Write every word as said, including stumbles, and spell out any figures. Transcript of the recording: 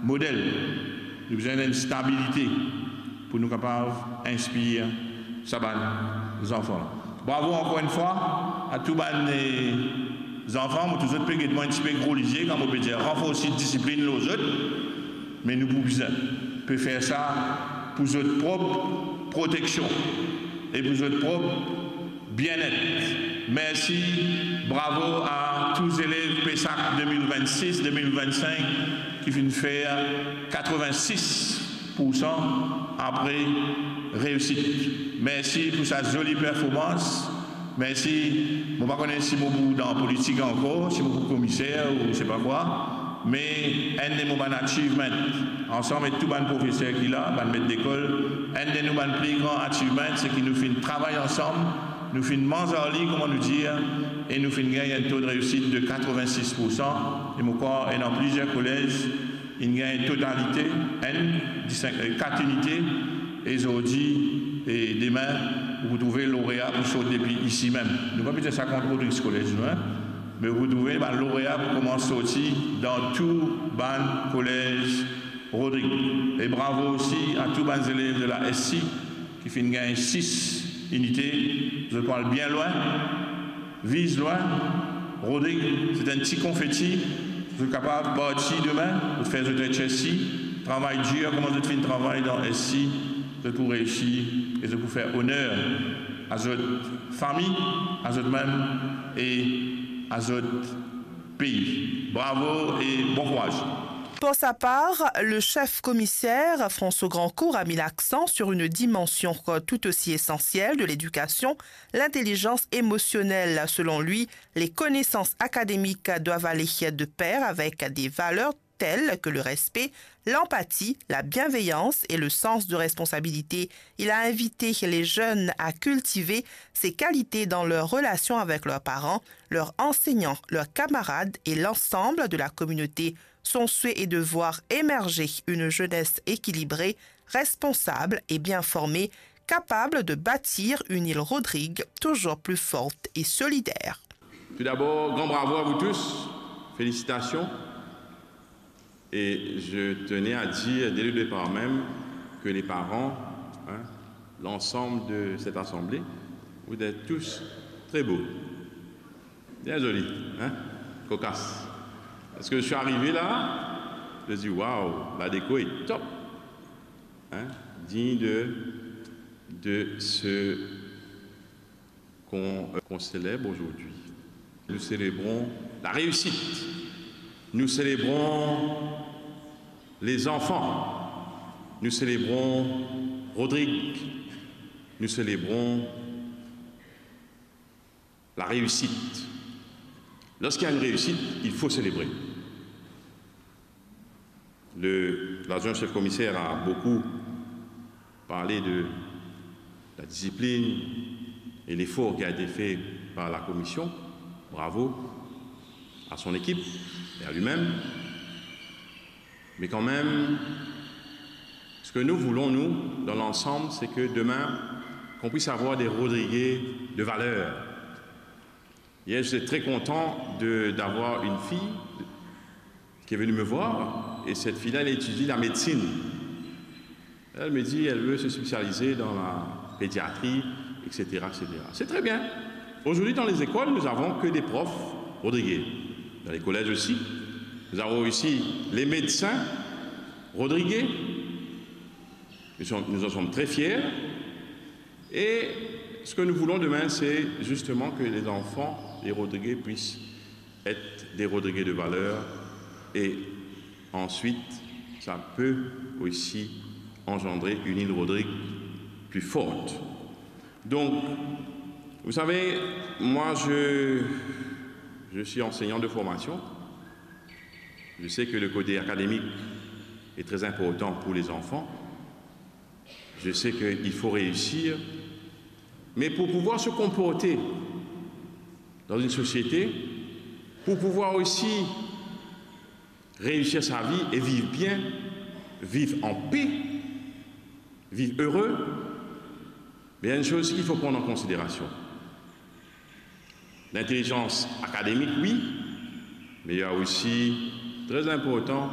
model. Nou bizin enn stabilite pou nou kapav inspir sa bann zanfan la. Bravo ankor enn fwa a tou bann, eh, zanfan. Mo trouv zot pe get mwa enn tipe gro lizie, kan mo pe dir ranforsi disiplinn lor zot, me nou pou bizin pe fer sa pou zot prop proteksion e pou zot prop bienet. Mersi, bravo a tou zelev PESAC de mil vennsis, de mil vennsink ki finn fer katrevin-sis poursan apre reisit. Mersi pou sa zoli performans. Mersi. Mo pa kone si mo pou dan politik ankor, si mo pou komiser ou se pa kwa, me enn de mo bann achievement, ansam ek tou bann profeser ki la, bann met lekol, enn de nou bann pli gran achievement, se ki nou finn travay ansam, nou finn manz ar li, kouma nou dir, e nou finn gagn enn to de reisit de katrevin-sis poursan, e mo krwar ena plizier kolez, inn gagn totalite, enn, disink, eh, kat inite, e zordi, e demin, ou pou trouve lorea pou sort depi isi mem. Nou pa pe dir sa kont Rodrigues College, nou, hein, me ou pou trouve bann lorea pou koumans sorti dan tou bann kolez Rodrig. E bravo osi a tou bann zelev de la SC ki finn gagn sis inite, zot pou al bien lwin, viz lwin. Rodrig, se enn ti konfeti, zot kapav parti demin, zot fer zot HSC, travay dir kouma zot finn travay dan SC, zot pou reisi e zot pou fer oner a zot fami, a zot mem e a zot pei. Bravo e bon kouraz. Pour sa part, le chef commissaire, François Grandcourt, a mis l'accent sur une dimension tout aussi essentielle de l'éducation, l'intelligence émotionnelle. Selon lui, les connaissances académiques doivent aller de pair avec des valeurs telles que le respect, l'empathie, la bienveillance et le sens de responsabilité. Il a invité les jeunes à cultiver ces qualités dans leur relation avec leurs parents, leurs enseignants, leurs camarades et l'ensemble de la communauté. Son souhait est de voir émerger une jeunesse équilibrée, responsable et bien formée, capable de bâtir une île Rodrigue toujours plus forte et solidaire. Tout d'abord, grand bravo à vous tous. Félicitations. Et je tenais à dire dès le départ même que les parents, hein, l'ensemble de cette assemblée, vous êtes tous très beaux. Bien joli, hein? Cocasse. Parce que je suis arrivé là, je dis, waouh, la déco est top. Hein? Digne de, de ce qu'on, euh, qu'on célèbre aujourd'hui. Nous célébrons la réussite. Nous célébrons les enfants. Nous célébrons Rodrigue. Nous célébrons la réussite. Lorsqu'il y a une réussite, il faut célébrer. Le, l'adjoint chef commissaire a beaucoup parlé de la discipline et l'effort qui a été fait par la commission. Bravo à son équipe et à lui-même. Mais quand même, ce que nous voulons, nous, dans l'ensemble, c'est que demain, qu'on puisse avoir des Rodriguais de valeur. Hier, j'étais très content de, d'avoir une fille qui est venue me voir, et cette fille-là, elle étudie la médecine. Elle me dit, elle veut se spécialiser dans la pédiatrie, et cetera, et cetera. C'est très bien. Aujourd'hui, dans les écoles, nous avons que des profs rodriguais. Dans les collèges aussi. Nous avons ici les médecins rodriguais. Nous sommes, nous en sommes très fiers. Et ce que nous voulons demain, c'est justement que les enfants, les Rodriguais, puissent être des Rodriguais de valeur. Et ensuite, ça peut aussi engendrer une île Rodrigue plus forte. Donc, vous savez, moi, je, je suis enseignant de formation. Je sais que le côté académique est très important pour les enfants. Je sais qu'il faut réussir. Mais pour pouvoir se comporter dans une société, pour pouvoir aussi réussir sa vie et vivre bien, vivre en paix, vivre heureux, mais il y a une chose qu'il faut prendre en considération. L'intelligence académique, oui, mais il y a aussi, très important,